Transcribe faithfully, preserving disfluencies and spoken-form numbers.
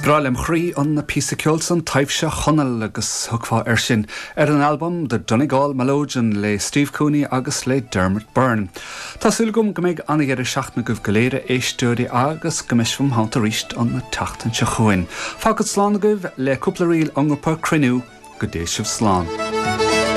Is breá lem chroí an píosa ceoil san Taibhse Chonaill agus thiocfá air sin ar an albam The Donegal Melodeon le Steve Cooney agus le Dermot Byrne. Tá súil agam go mbeidh an-deireadh seachtaine agaibh go léir a éisteoirí agus go mbeidh sibh im theannta arís an tseachtain seo chugainn. Fágfad slán agaibh le cúpla ríl ón ngrúpa Cruinniú go dté sibh slán.